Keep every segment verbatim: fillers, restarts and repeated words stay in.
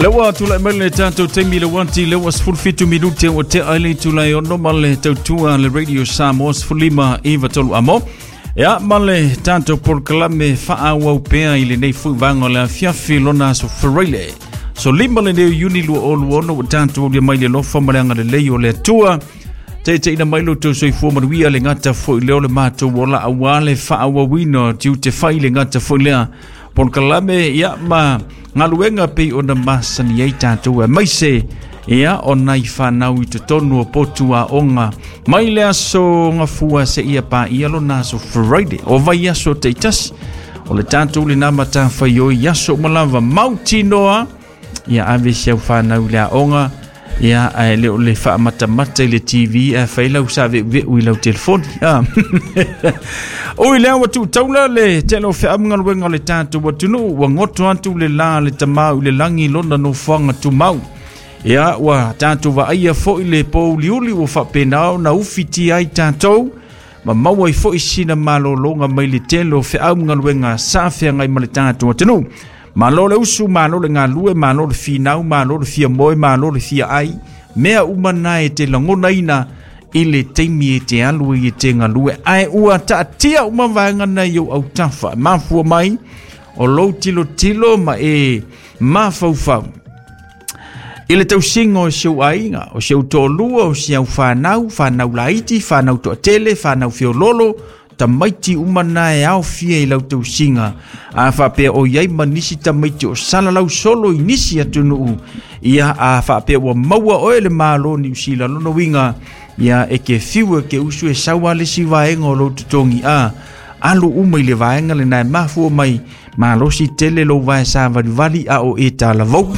Lewa tulai mai le tatou taimi le wanti lewa sefulu fitu minute ua tea ai le itula e ono ma le tautua le Radio Samoa sefulu lima iva tolu amo. Ia ma le tatou polokalame faaauau pea i lenei foi vaega o le afiafi lona aso Faraile. So lima lenei o Iuni lua o lua ono ua tatou aulia mai le alofa ma le agalelei o le Atua. Taitaiina mai lo outou soifua manuia le gata foi lea o le matou ola aua le faaauauina o tiute fai le gata foi lea polokalame ia ma galuega pei ona masani ai tatou aemaise ia o nai fanau i totonu o potu aoga mai le aso Gafua seia paia lona aso Friday o vaiaso taitasi o le tatou lena matafaioi i aso uma lava mautinoa ia ave si au fanau i le aoga ia ae le o le faamatamata i le T V ae fai lau saveuveu i lau telefoni. Ah. Ui lea ua tuutaula le tele o feau ma galuega o le tatou atunuu ua goto atu le la le tamau i le lagi lona nofoaga tumau. Ia ua tatou vaaia foi le pouliuli ua faapena ona ufitia ai tatou ma maua ai foi sina malologa mai le tele o feau ma galuega sa feagai ma le tatou atunuu. Malo le usu, malo le galue, malo le finau, malo le fia moe, malo le fia ai. Mea uma na e te lagonaina i le taimi e te alu ai e te galue. Ae ua taatia uma vaega na i ou autafa. Mafua mai o lou tilotilo ma e mafaufau i le tausiga o si ou aiga, o si ou toalua, o si au fanau, fanau laiti, fanau toatele, fanau feololo, tamaiti uma na e aofia i lau tausiga. A faapea o iai ma nisi tamaiti o salalau solo i nisi atunuu, ia a faapea ua maua oe le Malo o Niu Sila lona uiga, ia e ke fiu e ke usu e sau a le isi vaega o lou totogi a alu uma i le vaega lena e mafua mai malosi tele lou vae savalivali a o e talavou.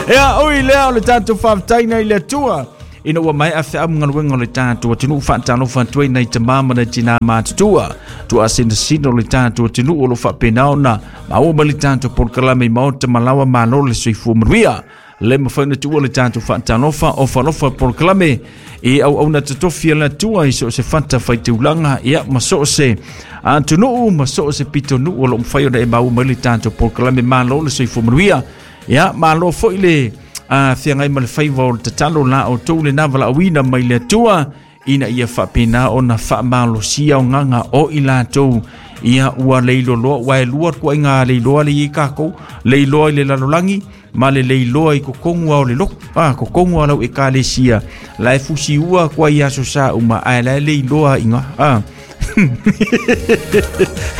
Ia ui lea o le tatou faafetaina i le Atua ina ua maea feau ma galuega o le tatou atunuu faatalofa atu ai nai tamā ma nai tinā matutua tuaasinasina o le tatou atunuu o lo faapena ona maua mai le tatou polokalame i maota ma laoa malo le soifua manuia. Le mafai ona tuua le tatou faatalofa o falofa polokalame i auauna totofi a le Atua i so o se fata faitaulaga ia ma so o se atunuu ma so o se pitonuu o lo o mafai ona e maua mai le tatou polokalame malo le soifua manuia. Ia malo foi le a feagai ma le faiva o le tatalo la outou lena valaauina mai le Atua ina ia faapena ona faamalosia o gaga o i latou ia ua leiloloa ua e lua tuaiga leiloa le iai tatou leiloa i le lalolagi ma le leiloa i kokogu a o le lotu a kokogu a lau ekalesia la e fusiua kua i aso sa uma ae la e leiloa iga a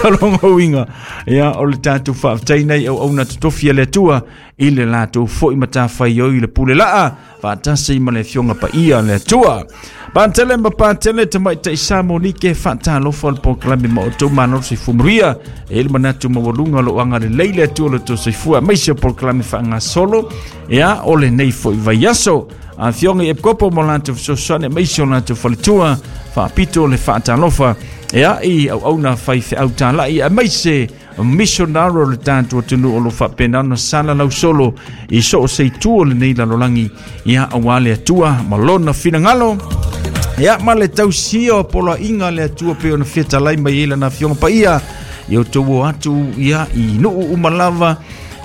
Alonga uiga ia o le tatou faafetaina i auauna totofi a le Atua i le latou foi matafaioi i le pule laa faatasi ma le afioga paia a le Atua. Patele ma patele tamaitai sa Monike faatalofa o le polokalame ma outou malo le soifua manuia. E i le manatu maualuga o loo agalelei le Atua o le tou soifua aemaise o polokalame faagasolo ia o lenei foi vaiaso. Afioga i Epikopo ma latou fesoasoani aemaise o latou faletua faapito le faatalofa ia i auauna faifeau talai aemaise missionary o le tatou atunuu o lo faapena ona salalau solo i so o se itu o lenei lalolagi ia aua le Atua ma lona finagalo ia ma le tausia o poloaiga a le Atua pei ona fetalai mai ai lana afioga paia ia outou o atu ia i nuu uma lava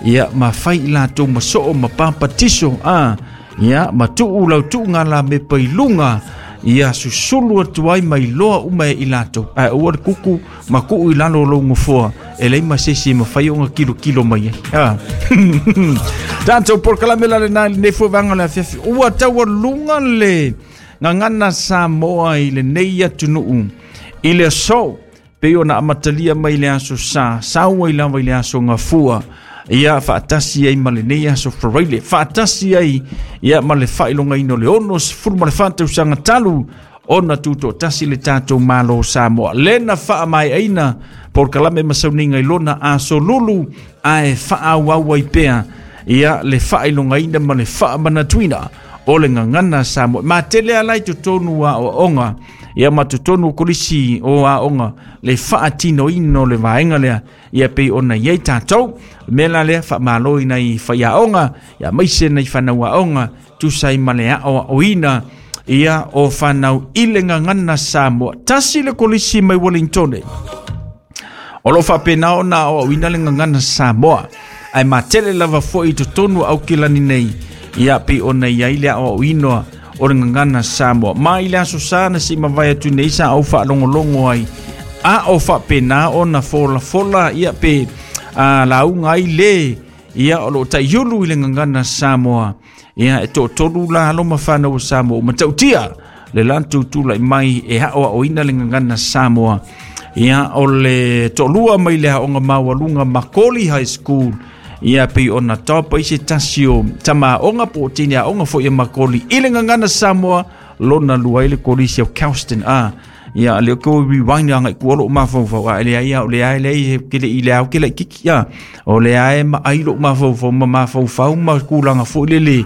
ia ma fai i latou ma soo ma papatiso a ia ma tuu lau tuuga lamepa i luga ia susulu atu ai mai loa uma e i latou ae aua le kuku ma tuu i lalo o lou gofoa e leai ma se isi e mafai ona kilokilo mai ai. Ah. Tatou polokalame la lena i lenei foi vaega o le afiafi ua taualuga le gagana Samoa i lenei atunuu i le aso pei ona amatalia mai le aso Sa sau ai lava i le aso Gafua ia faatasi ai ma lenei aso Faraile faatasi ai ia ma le faailogaina o le ono sefulu ma le fa tausaga talu ona tutoatasi le tatou Malo o Samoa lena faamaeaina polokalame ma sauniga i lona aso lulu ae faaauau ai pea ia le faailogaina ma le faamanatuina o le gagana Samoa matele ala i totonu aoaoga ia ma totonu o kolisi o aoga le faatinoina o le vaega lea ia pei ona iai tatou mea la lea faamalo i nai faiaoga ia aemaise nai fanau aoga tusa ai ma le aoaoina ia o fanau i le gagana Samoa. Tasi le kolisi mai Wellington o lo o faapena ona aoaoina le gagana Samoa. Ae matele lava fo'i i totonu o Aukilani nei ia pei ona i ai le a'oa'oina o le gagana Samoa. Ma i le aso sa na se'i mavae atu nei sa ou faalogologo ai a o faapenā ona folafola ia pe a lauga ai lē ia o loo ta'iulu i le gagana Samoa ia e to'atolu la alo ma fanau o Samoa ua matautia le latou tula'i mai e a'oa'oina le gagana Samoa ia o le to'alua mai le aoga maualuga Makoli High School ia pei ona tapa i se tasi o tamāoga po o teine aoga fo'i a Makoli i le gagana Samoa lona lua ai le kolisi o Kelston a ia le ko rewind anga ku lo mafaufau a le ai o le ai le ke le ile au ke le kiki ia o le ai ma ai lo mafaufau ma mafaufau ma kulanga fo le le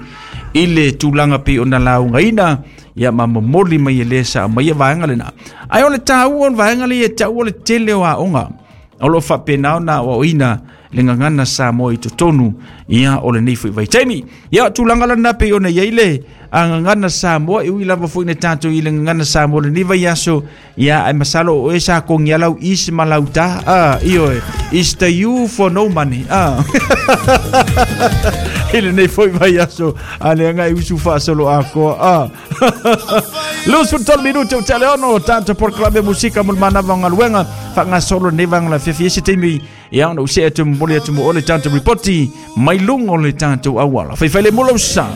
i le tulaga pei ona laugaina ia ma momoli mai e lē sa mai ia vaega lena ai o le tāua o le vaega le ia ta'ua o le tele o aoga o loo faapena ona aoaoina le gagana Samoa i totonu ia o lenei foi vaitaimi ia tulaga lana pei ona iai le gagana Samoa e ui lava foi na tatou i le gagana Samoa lenei vaiaso ia ae masalo o oe sa kogia lau is ma lau ta a ioe is the you for no money a i lenei foi vaiaso a le agai usu faasolo akoa a luasefulu tolu minute o teleono tatou polokalame musika mo le manava o galuega faagasolo lenei vaega lafiafi ese taimi ia ona ou see atu momoli atu mo ole tatou ripoti mai luga o le tatou auala faifai le mula usa.